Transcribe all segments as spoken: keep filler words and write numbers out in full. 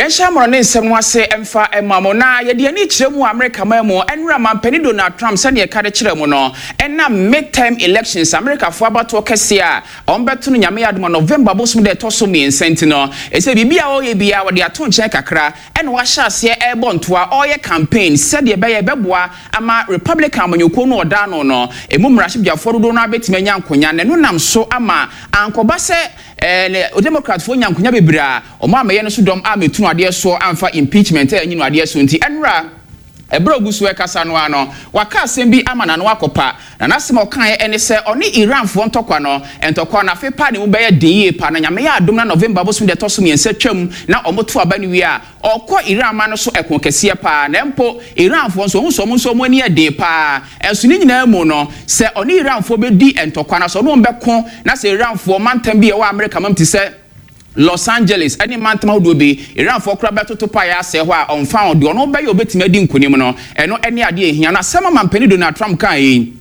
Yɛnhyɛ mmorɔ ne nsɛm no ase mfa ma mo na yɛde ani kyerɛ mu Amerika man mu. Ɛnora mampanin Donald Trump, sɛdeɛ ɛka de kyerɛ mu no, ɛnam midterm elections, Amerikafoɔ abatoɔ kɛseɛ a ɔmbɛto no Nyame adom a November bosom dɛ ɛtɔ so mmiɛnsa nti no, ɛsɛ biribi a ɔyɛ biara wɔde ato nkyɛn kakra ɛna wahyɛ aseɛ ɛrebɔ ntoa, ɔreyɛ campaign sɛdeɛ ɛbɛyɛ ɛbɛboa ama Republican amanyɔkuo no ɔda no no ɛmu mmarahyɛbadwafoɔ dodoɔ no abɛtumi anya nkonya, na ɛno nam so ama ankɔba sɛ ɛɛ Democratfoɔ nya nkonya bebree a ɔmo amɛyɛ no so dɔm a mɛtu no adeɛ soɔ amfa impeachment a ɛnyi no adeɛ so. Nti ɛnora ɛberɛ ogu so ɛkasa no ano, waka asɛm bi ama n'ano akɔpa, na n'asɛm a ɔkaeɛ ɛne sɛ ɔne Iranfoɔ ntɔkwa no, ntɔkwa no afe pa ne mu bɛyɛ den yie pa, na Nyame yɛ adom na November bosom deɛ ɛtɔ so mmiɛnsa twam na ɔmo to aba no wie a, ɔkɔ Iran ma no so ɛko kɛseɛ paa. Na mpo Iranfoɔ nso, ɔmo nso ɔmo nso ɔmo ani yɛ den paa. Ɛnso ne nyinaa mu no, sɛ ɔne Iranfoɔ bɛdi ntɔkwa na sɛ ɔne wɔn bɛko na sɛ Iranfoɔ mantam bi a ɛwɔ Amerika mam te sɛ Los Angeles ɛne mantam ahodoɔ bi, Iranfoɔ koraa bɛtoto paeɛ asɛe hɔ a, ɔmfa ho deɛ ɔno bɛyɛ obɛtumi adi nkonim no, ɛno ɛne adeɛ ehia no. Asɛm a mampanin Donald Trump kaa yi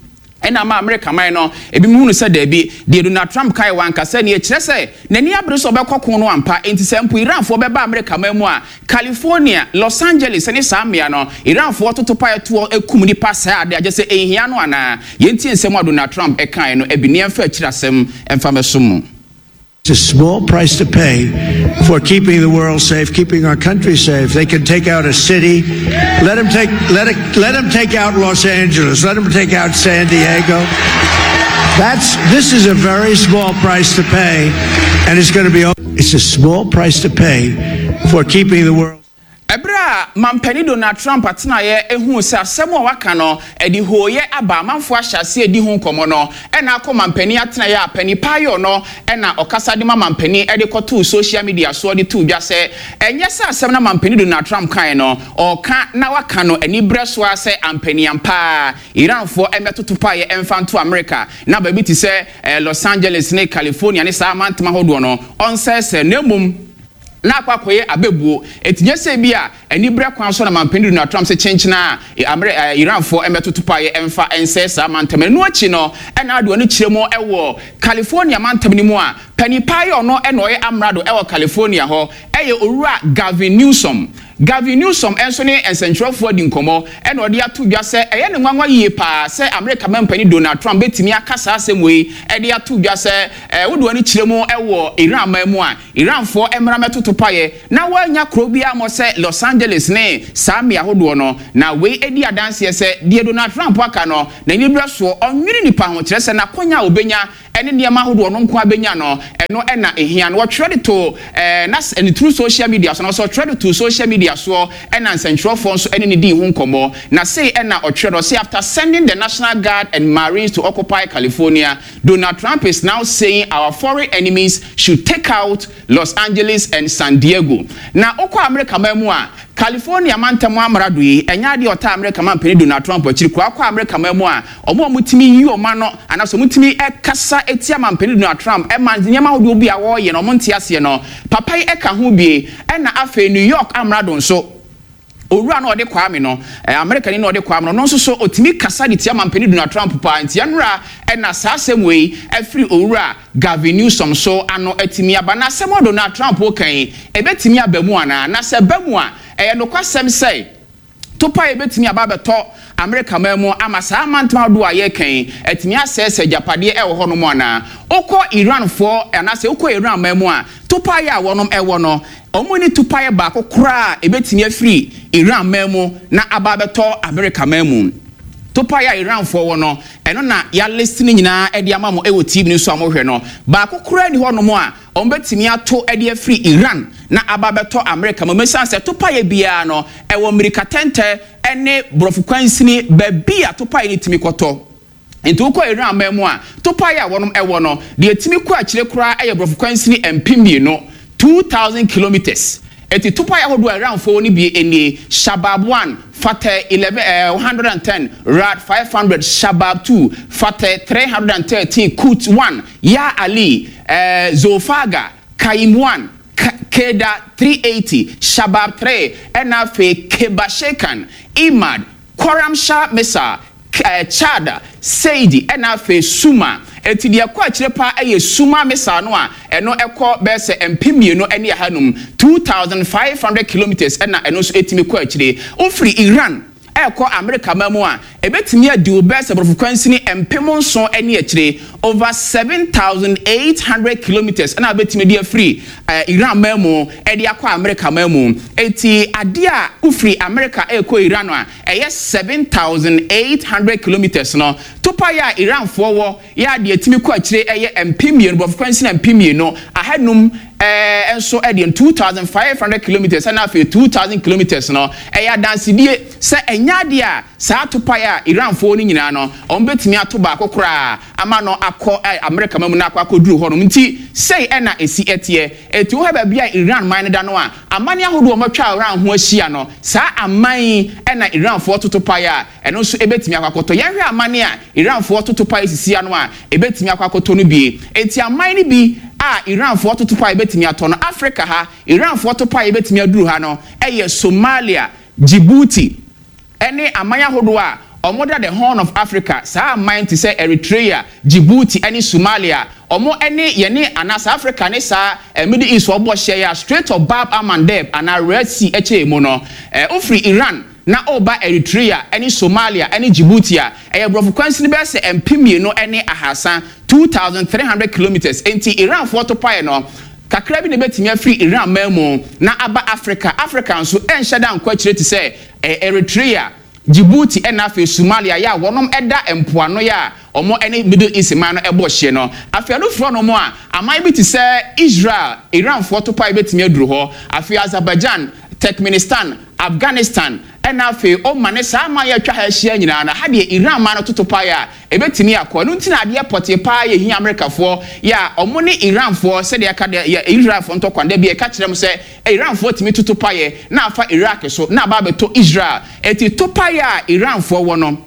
ɛna ama Amerika man no ebi mu hunu sɛ daabi, deɛ Donald Trump kae wankasa nie, kyerɛ sɛ n'ani abere sɛ ɔbɛkɔ ko no ampa. Nti sɛ mpo Iranfoɔ bɛba Amerika man mu a, California, Los Angeles ne saa mmea no, Iranfoɔ toto paeɛ toɔ ekum nipa saa ade agye sɛ ehia no anaa. Yɛntie nsɛm a Donald Trump ɛkae no ebi ne yɛmfa akyire asɛm ɛmfa mɛso mu. It's a small price to pay for keeping the world safe, keeping our country safe. They can take out a city. Let them take let it, let them take out Los Angeles. Let them take out San Diego. That's this is a very small price to pay, and it's going to be. It's a small price to pay for keeping the world. Ɛberɛ a mampanin Donald Trump atenaeɛ ehu sɛ asɛm a waka no ɛde hooyɛ aba, amanfoɔ ahyɛ aseɛ di ho nkɔmmɔ no, ɛna akɔ mampanin atenaeɛ a panin paayɔ no ɛna ɔkasa de ma mampanin ɛde kɔtoo social media soɔ de too dwa sɛ ɛnyɛ sɛ asɛm na mampanin Donald Trump kae no, ɔka na waka no ani berɛ so a sɛ ampaniam paa Iranfoɔ ɛmɛtoto paeɛ ɛmfa nto America na baabi te sɛ eh, Los Angeles ne California ne saa amantam ahodoɔ no ɔnsɛesɛ, na mmom na akɔ akɔyɛ abɛbuo. Eti nyɛ sɛ bi a aniberɛ kwan so na mampanin Donald Trump sɛ kyenkyena a amere ɛ Iranfoɔ ɛmɛtoto paeɛ ɛmfa ɛnsɛe saa mantam. Ɛno akyi no, ɛna ade ɔno kyerɛ mu ɛwɔ California mantam no mu a panin paeɛ ɔno ɛna ɔyɛ amrado ɛwɔ California hɔ, ɛyɛ Owura Gavin Newsom. Gavin Newsom nso ne nsɛntwerɛfoɔ adi nkɔmmɔ ɛna ɔde ato dwa sɛ ɛyɛ ne nwanwa yie paa sɛ Amerika mampanin Donald Trump bɛtumi aka saa asɛm wei ɛde ato dwa sɛ ɛɛ wode wɔn kyerɛ mu ɛwɔ Iran man mu a, Iranfoɔ mmara mɛtoto paeɛ na wɔanya kuro bi amɔ sɛ Los Angeles ne saa mmea ahodoɔ no. Na wei edi adanseɛ sɛ deɛ Donald Trump aka no, n'ani berɛ soɔ ɔnwene nipa ho, kyerɛ sɛ n'akɔnya a obɛnya ɛne nneɛma ahodoɔ no nko abɛnya no, ɛno ɛna ehia no. Wɔtwerɛ de to ɛɛ na ne through social media so, na wɔsɛ ɔtwerɛ de to social media soɔ, ɛna nsɛntwerɛfoɔ nso ɛne ne di ho nkɔmmɔ. Na sei ɛna ɔtwerɛ no sɛ, "After sending the National Guard and Marines to occupy California, Donald Trump is now saying our foreign enemies should take out Los Angeles and San Diego." Na okɔ Amerika man mu a, California mantam amrado yi ɛnyɛ adeɛ ɔta Amerika mampanin Donald Trump akyiri kɔ akɔ Amerika man mu a, ɔmo a ɔmotumi yi ɔmo ano anaasɛ ɔmotumi ɛkasa etia mampanin Donald Trump ɛma nneɛma ahodoɔ bi a wɔreyɛ no ɔmo nte aseɛ no, papa yi ɛka ho bie. Ɛna afei New York amrado nso, owura no ɔde Kwame no ɛɛ Amerika ni na ɔde Kwame no, ɔno nso so otumi kasa de tia mampanin Donald Trump paa. Nti ɛnora ɛna saa asɛm wei ɛfiri owura Gavin Newsom so ano atumi aba. Na asɛm a Donald Trump kan yi, ebetumi aba mu anaa? Na sɛ ɛba mu a, ɛyɛ nokwasɛm sɛ topa a ebetumi aba abɛtɔ Amerika man mu ama saa amantam ahodoɔ a yɛreka yi atumi asɛesɛ agyapadeɛ ɛwɔ hɔnom anaa? Wokɔ Iranfoɔ anaasɛ wokɔ Iran man mu a, topaeɛ a wɔnom ɛwɔ no, wɔn ni topaeɛ baako koraa a ebetumi afiri Iran man mu na aba abɛtɔ Amerika man mu. Topaeɛ a Iranfoɔ wɔ no, ɛno na yɛa list no nyinaa ɛde ama mo ɛwɔ T V no so a mohwɛ no. Baako koraa ni hɔnom a wɔn bɛtumi ato ɛde afiri Iran na aba abɛtɔ Amerika mu, mesan sɛ topaeɛ biara no ɛwɔ mmirika tɛntɛ ɛne borɔfo kwansini baabi a topaeɛ no tumi kɔtɔ. Nti wokɔ Iran man mu a, topaeɛ a wɔnom ɛwɔ no deɛ tumi kɔ akyire koraa ɛyɛ borɔfo kwansini mpem mmienu, two thousand kilometres. Eti topaeɛ ahodoɔ a Iranfoɔ no bi nie: Shabab one, Fateh eleven ɛɛ one hundred and ten, Rad five hundred, Shabab two, Fateh three hundred and thirteen, Quds one, Ya Ali, ɛɛ Zolfaghar, Qaim one, Keda three eighty, Shabab three, ɛna afei Kheibar Shekan, Emad, Khorramshahr missile, Chad, Saidi, ɛna afei Suma. Eti deɛ ɛkɔ akyire paa ɛyɛ Suma missile no a ɛno ɛkɔ bɛyɛ sɛ mpem mmienu ne ahanum, two thousand five hundred kilometres, ɛna ɛno nso etumi kɔ akyire. Ofiri Iran ɛkɔ Amerika ma mu a, ebetumi adi wo bɛyɛ sɛ borɔfo kwansini mpem nson ne akyire, over seven thousand eight hundred kilometres, ɛna ebetumi de afiri ɛɛ Iran ma mu ɛde akɔ Amerika ma mu. Eti adeɛ a ofiri Amerika ɛkɔ Iran a ɛyɛ seven thousand eight hundred kilometres no, topa yɛ a Iranfoɔ wɔ yɛ adeɛ etumi kɔ akyire ɛyɛ mpem mmienu, borɔfo kwansini mpem mmienu ahanum ɛɛ nso ɛdeɛ two thousand five hundred kilometres, ɛna afei two thousand kilometres no, ɛyɛ adansidie sɛ ɛnyɛ adeɛ a saa topaeɛ a Iranfoɔ no nyinaa no wɔn bɛtumi ato baako koraa ama no akɔ ɛ Amerika ma mu na akɔ akɔduru hɔnom. Nti sei ɛna esi ɛteɛ. Eti wohɛ baabi a Iran man no da no a, amane ahodoɔ a wɔatwa Iran ho ahyia no, saa aman yi ɛna Iranfoɔ toto paeɛ a ɛno nso ebɛtumi akɔ akɔtɔ. Yɛnhwɛ amane a Iranfoɔ toto paeɛ sisi ano a ebɛtumi akɔ akɔtɔ no bie. Eti aman no bi a Iranfoɔ toto paeɛ ebɛtumi atɔ no, Africa ha, Iranfoɔ to paeɛ ebɛtumi aduru ha no ɛyɛ Somalia, Djibouti, ɛne aman ahodoɔ a ɔmo da the Horn of Africa. Saa aman te sɛ Eritrea, Djibouti ɛne Somalia, ɔmo ɛne yɛne anaa saa Africa ne saa eh, Middle East ɔbɔ hyɛ yɛ a Strait of Bab el Mandeb anaa Red Sea ɛkyɛ mu no, ɛɛ ofiri Iran na ɔba Eritrea ɛne Somalia ɛne Djibouti a, ɛyɛ borɔfo kwansini bɛyɛ sɛ mpem mmienu ɛne ahasa, two thousand three hundred kilometres. Nti Iranfoɔ to paeɛ no kakra bi na ebɛtumi afiri Iran man mu na aba Africa. Africa nso ɛnhyɛ da nkɔ akyire te sɛ ɛ Eritrea, Djibouti ɛna afei Somalia yɛ a wɔnom ɛda mpoano yɛ a wɔn ɛne Middle East man no ɛbɔ hyɛ no. Afei ɛno firi hɔnom a, aman bi te sɛ Israel, Iranfoɔ to paeɛ bɛtumi aduru hɔ. Afei Azerbaijan, Turkmenistan, Afghanistan, ɛna afei Oman ne saa aman yɛ atwa ha ahyia nyinaa no, ha deɛ Iran man no toto paeɛ a ebɛtumi akɔ. Ɛno nti na adeɛ pɔtee paa yɛ hia Amerikafoɔ yɛ a ɔmo ne Iranfoɔ, sɛdeɛ ɛka deɛ yɛ Israelfoɔ ntɔkwa da bi ɛka kyerɛ mo sɛ Iranfoɔ tumi toto paeɛ na afa Iraq so na aba abɛtɔ Israel. Eti to paeɛ a Iranfoɔ wɔ no,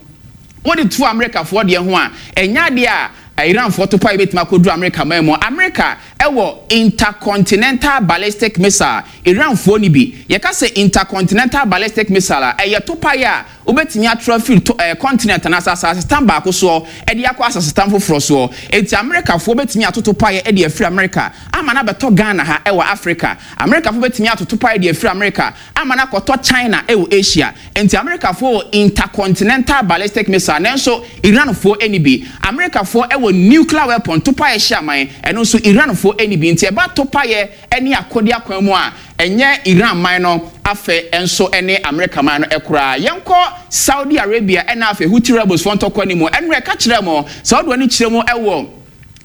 wɔde to Amerikafoɔ deɛ ho a, ɛnyɛ adeɛ a Iranfoɔ to paeɛ bɛtumi akɔduru Amerika man mu. Amerika ɛwɔ intercontinental ballistic missile, Iranfoɔ ni bi. Yɛka sɛ intercontinental ballistic missile a, ɛyɛ to paeɛ a wobɛtumi atrɔ afiri to ɛɛ continent anaasɛ asasetam baako soɔ ɛde akɔ asasetam foforɔ soɔ. Eti Amerikafoɔ bɛtumi atoto paeɛ ɛde afiri Amerika ama no abɛtɔ Ghana ha ɛwɔ Africa. Amerikafoɔ bɛtumi atoto paeɛ de afiri Amerika ama no akɔtɔ China ɛwɔ Asia. Nti Amerikafoɔ wɔ intercontinental ballistic missile, nanso Iranfoɔ ɛni bi. Amerikafoɔ ɛwɔ nuclear weapon, to paeɛ hyɛ aman, ɛno nso Iranfoɔ ɛni bi. Nti ɛba to paeɛ ɛne akɔde akwan mu a, ɛnyɛ Iran man no afɛ nso ɛne Amerika man no ɛkoraa. Yɛnkɔ Saudi Arabia ɛna afei Houthi rebels foɔ ntɔkwa ne mu. Ɛnura ɛka kyerɛ mo Saudi ani kyerɛ mu ɛwɔ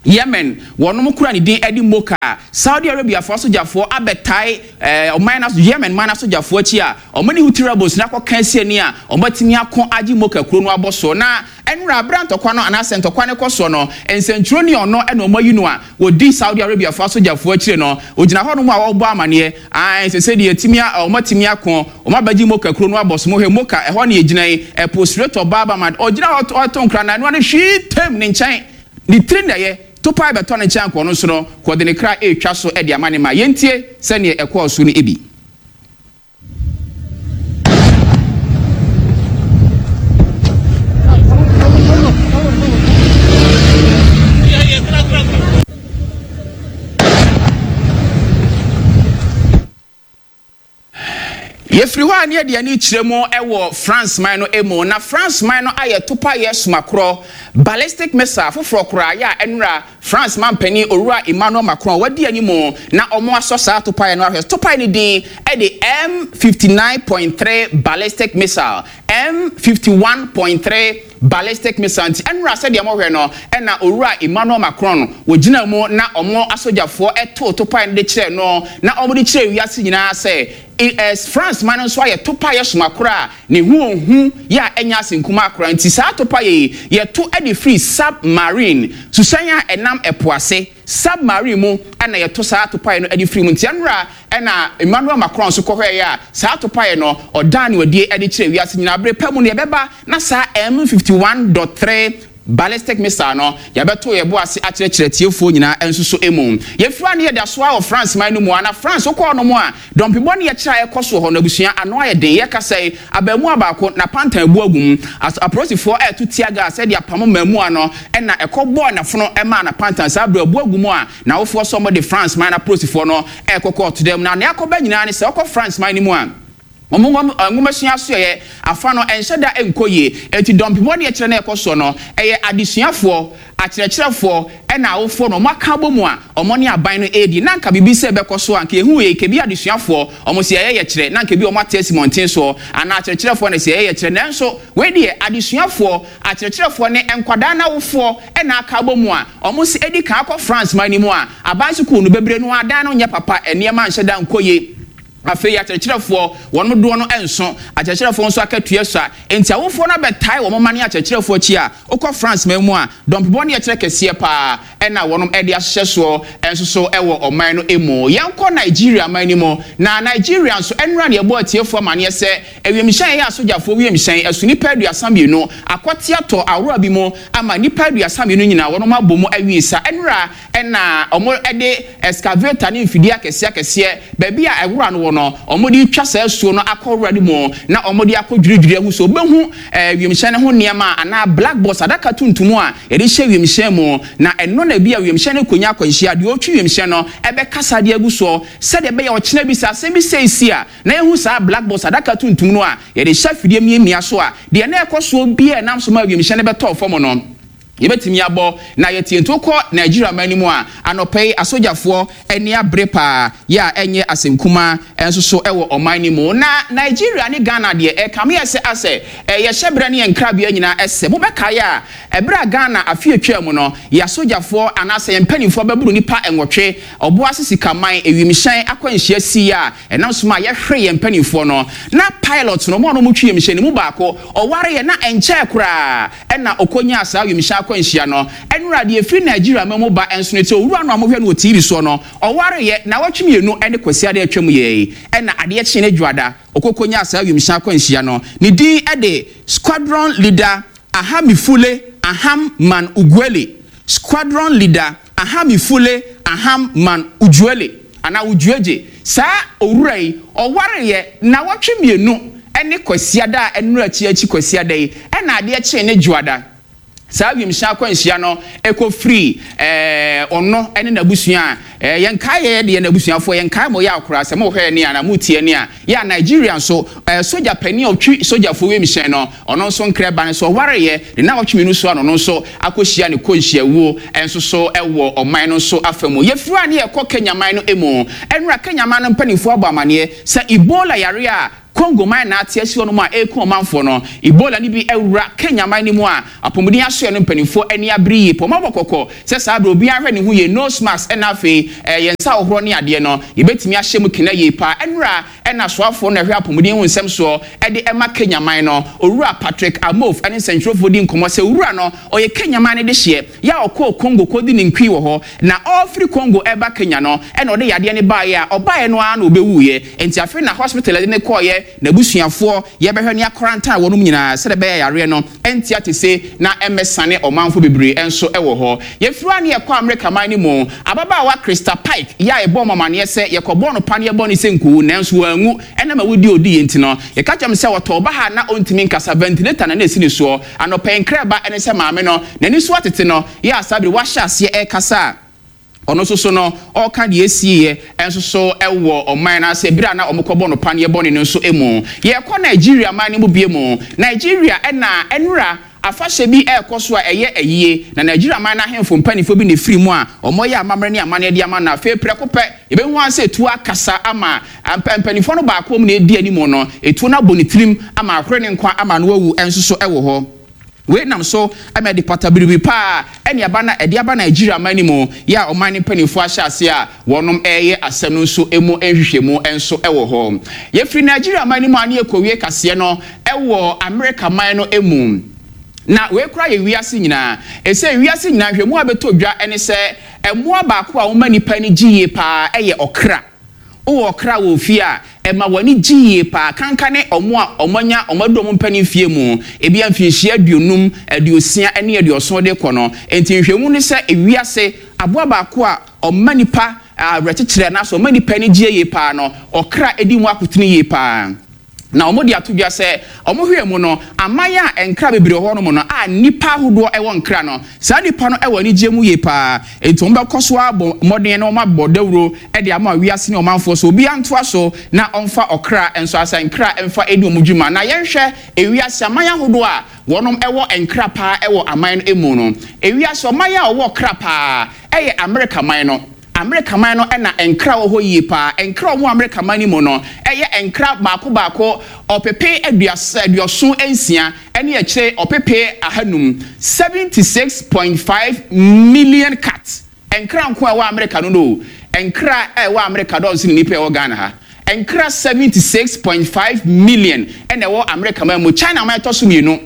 Yemen, wɔnom kura ne din ɛde Moka. Saudi Arabia foɔ asogyafoɔ abɛtae ɛɛ ɔman na Yemen man asogyafoɔ akyi a ɔmo ne Houthi rebels na akɔka asi ani a ɔmo atumi ako agye Moka kuro no abɔ so. Na ɛnura abira ntɔkwa no anaasɛ ntɔkwa no kɔ soɔ no, nsɛntwerɛni ɔno ɛna ɔmo ayi no a wɔdi Saudi Arabia foɔ asogyafoɔ akyire no, ogyina hɔnom a wɔrebɔ amaneɛ ayi sɛ sɛdeɛ yɛtumi a ɔmo atumi ako, ɔmo abɛgye Moka kuro no abɔ so. Mo hwɛ Moka ɛhɔ ne yɛgyina yi, ɛpo Strait of Bab el Mandeb. Ɔgyina hɔ ɔto nkra na ɛnoa no hwii tam ne nkyɛn ne tiri na ɛyɛ topae bɛtɔ ne nkyɛn akɔ no so no kɔde ne kra ɛretwa so ɛde ama ne ma. Yɛntie sɛneɛ ɛkɔɔ so no ebi. Yɛfiri hɔ a ne yɛde ani kyerɛ mu ɛwɔ France man no mu. Na France man no ayɛ topayɛ somakorɔ, ballistic missile foforɔ koraa yɛ a ɛnura France man panin Owura Emmanuel Macron wadi anim na ɔmo asɔ saa topayɛ no ahwɛ. Topayɛ no din ɛde M fifty-nine point three ballistic missile, M fifty-one point three ballistic missile. Nti ɛnura sɛdeɛ mohwɛ no, ɛna Owura Emmanuel Macron wɔgyina mu na ɔmo asogyafoɔ ɛto topaeɛ no de kyerɛ no na ɔmo de kyerɛ wiase nyinaa sɛ France man no nso ayɛ topaeɛ somakoro a ne ho ohu yɛ a ɛnya ase nkuma akora. Nti saa topaeɛ yi yɛto de firi submarine, suhyɛn a ɛnam ɛpo ase, submarine mu ɛna yɛto saa topaeɛ no de firi mu. Nti ɛnora ɛna Emmanuel Macron nso kɔhɔɛ a saa topaeɛ no ɔdan ne wadie de kyerɛ wiase nyinaa. Bere pa mu no yɛbɛba na saa M fifty-one point three Ballistic missile no, yɛbɛto yɛ bo ase akyerɛkyerɛ tiefoɔ nyinaa nso so mu. Yɛfira ne yɛda soa wɔ France man no mu a, na France wokɔɔ no mu a, dɔmpebɔ ne yɛkyerɛ a ɛkɔ so hɔ no, abusua, ano ayɛ den. Yɛkasa yi, abaamuwa baako na pantan abu agu mu. Apolisifoɔ ɛɛto tear gas ɛde apam mmaamua no, ɛna ɛkɔ bɔɔ n'afono ɛmaa na pantan saa abere abu agu mu a, n'awofoɔ sɛ wɔde France man no apolisifoɔ no ɛɛkɔ kɔɔto dɛm. Na nea akɔba nyinaa ne sɛ ɔkɔ France man no mu a, wɔn nwomasua asoɛyɛ afa no ɛnhyɛ da nkɔ yie. Eti dɔmpebɔ ne yɛkyerɛ no ɛkɔ soɔ no, ɛyɛ adesuafoɔ, akyerɛkyerɛfoɔ ɛna awofoɔ no wɔn aka abɔ mu a wɔn ne aban no edi. Na nka biribi sɛ ɛbɛkɔ so a, nka ehu yɛ kebi adesuafoɔ wɔn si ɛyɛ yɛkyerɛ, na nka bi wɔn ate asi mmɔnten soɔ anaa akyerɛkyerɛfoɔ na si ɛyɛ yɛkyerɛ. Nanso wei deɛ, adesuafoɔ, akyerɛkyerɛfoɔ ne nkwadaa n'awofoɔ ɛna aka abɔ mu a wɔn si edi kan akɔ France man no mu a, aban sukuu no bebree no adan no nyɛ papa, nneɛma nhyɛ da nkɔ yie. Afei akyerɛkyerɛfoɔ wɔn dodoɔ no nso, akyerɛkyerɛfoɔ nso akatua so a, nti awofoɔ no abɛtae wɔn mma ne akyerɛkyerɛfoɔ akyi a, wokɔ France man mu a, dɔmpebɔ ne yɛkyerɛ kɛseɛ paa ɛna wɔn de ahyehyɛ soɔ nso so ɛwɔ ɔman no mu. Yɛnkɔ Nigeria man no mu, na Nigeria nso, ɛnura ne yɛbɔ atiefoɔ amaneɛ sɛ ewiemhyɛn yɛ asogyafoɔ wiemhyɛn ɛso nipa aduasa mmienu akɔte atɔ ahorow bi mu ama nipa aduasa mmienu nyinaa wɔn abɔ mu awie sa. Ɛnura ɛna wɔn de excavator ne mfidie akɛseɛ akɛseɛ baabi a ɛwura no wɔ no, wɔn de twa saa asuo no akɔ wura no mu na wɔn de akɔ dwiridwiri ahu so obehu ɛɛ wiemhyɛn no ho nneɛma anaa black box, adaka tuntum a yɛde hyɛ wiemhyɛn mu, na ɛno na ebi a wiemhyɛn no konya akwanhyia, deɛ ɔtwi wiemhyɛn no ɛbɛkasa de agu soɔ sɛdeɛ ɛbɛyɛ ɔkyena bi sɛ asɛm bi sɛ esi a, na ehu saa black box, adaka tuntum no a yɛde hyɛ afidie miamia so a, deɛ na ɛkɔ soɔ bi a ɛnam so ma wiemhyɛn no bɛtɔɔ fam no, yɛbɛtumi abɔ na yɛtie. Nti wokɔ Nigeria man no mu a, anɔpɛ yi asogyafoɔ ani abere paa yɛ a ɛnyɛ asɛm nso so ɛwɔ ɔman no mu. Na Nigeria ne Ghana deɛ, ɛkame yɛ sɛ asɛ yɛhyɛ berɛ ne yɛn nkrabea nyinaa ɛsɛ mobɛkaeɛ a, ɛberɛ a Ghana afe atwa mu no, yɛ asogyafoɔ anaasɛ yɛn mpanimfoɔ bɛboro nipa nwɔtwe Ɔboase Sikaman ewimhyɛn akwanhyia si a ɛnam so ma yɛhwere yɛn mpanimfoɔ no, na pilot no, ɔmo a ɔmo twi wiemhyɛn no mu baako ɔware yɛ na ɛnkyɛɛ koraa ɛna ɔkɔnyaa saa wiemhyɛn akwanhyia no. Ɛnura deɛ efiri Nigeria ma mu ba nso no, te owura no a mohwɛ no wɔ T V soɔ no, ɔware yɛ na wɔtwe mmienu ɛne Kwasi adeɛ atwam yɛ yi, ɛna adeɛ kye ne Dwoada ɔkɔkɔnyaa saa wiemhyɛn akwanhyia no. Ne din ɛde Squadron Leader Ahamifule Aham Man Uguele, Squadron Leader Ahamifule Aham Man Ujuele anaa Ujuegye. Saa owura yi ɔware yɛ na wɔtwe mmienu ɛne Kwasiada a ɛnura akyi akyi Kwasiada yi, ɛna adeɛ kye ne Dwoada saa wiemhyɛn akwanhyia no ɛkɔ firi ɛɛ ɔno ɛne n'abusua a ɛɛ yɛn kae yɛ deɛ n'abusuafoɔ yɛn kae mo yɛ akora sɛ mo hwɛ ni a na mo tie ni a yɛ a. Nigeria nso, ɛɛ sogya panin a ɔtwi sogyafoɔ wiemhyɛn no, ɔno nso nkrɛ ba no so ɔware yɛ de na ɔtwe mmienu so a, ɔno nso akɔhyia ne kɔnhyiawuo ɛnso so ɛwɔ ɔman no nso afa mu. Yɛfiri a ne yɛkɔ Kenya man no mu. Ɛnura Kenya man no mpanimfoɔ abɔ amaneɛ sɛ Ebola yare a Congo man na ate asi hɔ nom a ɛreku ɔmanfoɔ no, Ebola no bi awura Kenya man no mu a, apɔmuden asoɛ no mpanimfoɔ ani abere yie pɔ. Ɔmabɔ kɔkɔ sɛ saa abere obiara hwɛ ne ho yie, nose mask, ɛna afei ɛɛ yɛn nsa ahohoro ne adeɛ no yɛbɛtumi ahyɛ mu kena yie paa. Ɛnura ɛna soafoɔ no ɛhwɛ apɔmuden ho nsɛm soɔ ɛde ɛma Kenya man no, Owura Patrick Amof, ɛne nsɛntwerɛfoɔ di nkɔmmɔ sɛ owura no ɔyɛ Kenya man no de hyeɛ yɛ a ɔkɔɔ Congo kɔdi ne nkui wɔ hɔ, na ɔfiri Congo ɛba Kenya no ɛna ɔde yadeɛ no baeɛ a ɔbaeɛ no ara na ɔbɛwuiɛ. Nti afei na hospital ɛde ne kɔɔyɛ, n'abusuafoɔ yɛbɛhwɛ ne akɔrantan wɔnom nyinaa sɛdeɛ ɛbɛyɛ yareɛ no ɛnti ate se na ɛmmɛsane ɔmanfo bebree nso ɛwɔ hɔ. Yɛfiri a ne yɛkɔ Amerika man no mu. Ababaawa Krista Pike yɛ a yɛbɔ ɔmamaneɛ sɛ yɛkɔbɔɔ no paneɛ bɔ ne sɛ nkowu, nanso wanwu ɛnam awudi odi yɛ nti no, yɛka kyerɛ m sɛ wɔtɔ ɔba ha na ɔntumi nkasa, ventilator na na ɛsi ne soɔ. Anɔpɛ nkrɛba ɛne sɛ maame no n'ani so atete no yɛ asabere wahyɛ aseɛ ɛrekasa a, ɔno nso so no ɔreka deɛ esieɛ nso so ɛwɔ ɔman no ase ebere a na wɔkɔbɔ no paneɛ bɔne no nso mu. Yɛkɔ Nigeria man no mu bie mu. Nigeria ɛna ɛnura afahyɛ bi ɛrekɔ so a ɛyɛ ayie, na Nigeria man no ahemfo mpanimfoɔ bi na efiri mu a wɔyɛ amammerɛ ne amanneɛ de ama no. Afei prɛko pɛ yɛbɛhu ase etuo akasa ama mpanimfoɔ no baako mu na edi anim no, etuo no abɔ ne tirim ama ahore ne nkwa ama no awu nso so ɛwɔ hɔ. Wei nam so ɛma ɛde pata biribi paa ɛne aba na ɛde aba Nigeria man no mu yɛ a, ɔman no mpanimfoɔ ahyɛ ase a wɔnom ɛreyɛ asɛm no nso emu nhwehwɛmu nso ɛwɔ hɔ. Yɛfiri Nigeria man no mu a, ne yɛkɔwie kaseɛ no ɛwɔ America man no mu. Na wei kora yɛ wiase nyinaa ɛsɛ wiase nyinaa hwɛ mu a bɛtɔ dwa ɛne sɛ ɛmmoa baako a wɔma nipa no gye yie paa ɛyɛ ɔkra. Wowɔ ɔkra wɔ fie a, ɛma w'ani gye yie paa. Kanka ne ɔmo a ɔmo anya ɔmo adu ɔmo mpanin fie mu, ebi mfinhyia aduonum, aduosia ne aduɔson de kɔ no. Nti nhwɛmu ne sɛ ewiase aboa baako a ɔma nipa awerɛkyekyerɛ anaasɛ ɔma nipa ani gye yie paa no, ɔkra edi mu akotene yie paa. Na wɔn de ato dwa sɛ wɔn hwɛ mu no, aman a nkra bebree wɔ hɔnom no a nipa ahodoɔ wɔ nkra no, saa nipa no wɔ anigye mu yie paa. Nti wɔn bɛkɔ so abɔ mmɔden na wɔn abɔ dawuro de ama wiase ne ɔmanfoɔ so obiara ntoa so na ɔmfa ɔkra nso asa nkra mfa edi wɔn dwuma. Na yɛnhwɛ ewiase aman ahodoɔ a wɔnom wɔ nkra paa wɔ aman no mu no. Ewiase ɔman a ɔwɔ kra paa ɛyɛ Amerika man no. Amerika man no ɛna nkra wɔ hɔ yie paa. Nkra wɔ Amerika man no mu no ɛyɛ nkra baako baako ɔpepe aduasa aduɔson nsia ɛne akyire ɔpepe ahanum, seventy six point five million cats. Nkra nko a ɛwɔ Amerika no no nkra a ɛwɔ Amerika dɔɔso ne nipa ɛwɔ Ghana ha. Nkra seventy six point five million ɛna ɛwɔ Amerika man mu. China man ɛtɔ so mmienu.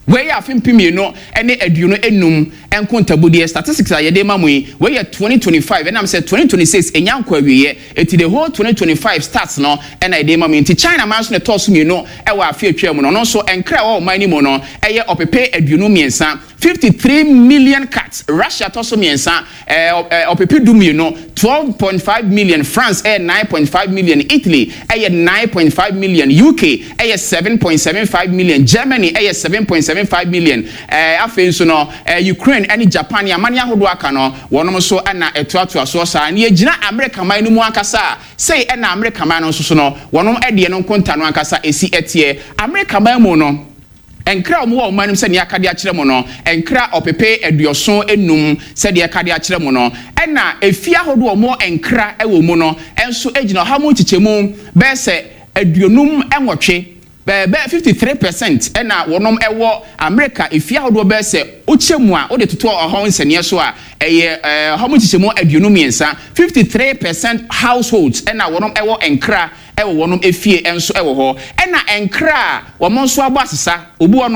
Wei yɛ afe mpem mmienu ne aduonu enum nkontabudeɛ statistics a yɛde ma mu yi. Wei yɛ twenty twenty-five, ɛnam sɛ twenty twenty-six enya nkɔ awieɛ, eti the whole twenty twenty-five stats no ɛna yɛde ma mu yi. Nti China man nso na ɛtɔɔ so mmienu ɛwɔ afe atwa mu no. Ɔno nso nkra ɛwɔ ɔman no mu no ɛyɛ ɔpepe aduonu mmiɛnsa, fifty-three million cats. Russia tɔ so mmiɛnsa, ɛɛ ɔpepe du mmienu, twelve point five million. France ɛyɛ nine point five million, Italy ɛyɛ nine point five million, U K ɛyɛ seven point seven five million, Germany ɛyɛ seven point seven five million. ɛɛ afei nso no, ɛɛ Ukraine ɛne Japan amane ahodoɔ aka no, wɔnom nso ɛna ɛtoatoa soɔ saa. Ne yɛgyina America man no mu ankasa a, sei ɛna America man no nso so no, wɔnom ɛdeɛ no nkonta no ankasa esi ɛteɛ. America man mu no, nkra a wɔwɔ ɔman no mu, sɛdeɛ aka de akyerɛ mu no, nkra ɔpepe aduɔson enum sɛdeɛ ɛka de akyerɛ mu no, ɛna efie ahodoɔ a wɔwɔ nkra wɔ mu no nso gyina ɔha mu nkyekyɛmu bɛyɛ sɛ aduonum nwɔtwe, bɛɛ fifty three percent ɛna wɔnom ɛwɔ America efie ahodoɔ. Bɛyɛ sɛ wokyɛ mu a, wode toto ɔhɔ nsɛnniɛ so a, ɛyɛ ɛɛ ɔha mu nkyekyɛmu aduonu mmiɛnsa, fifty three percent households ɛna wɔnom ɛwɔ nkra ɛwɔ wɔnom efie nso ɛwɔ hɔ. Ɛna nkra a wɔn nso abɔ asesa obi wɔ no.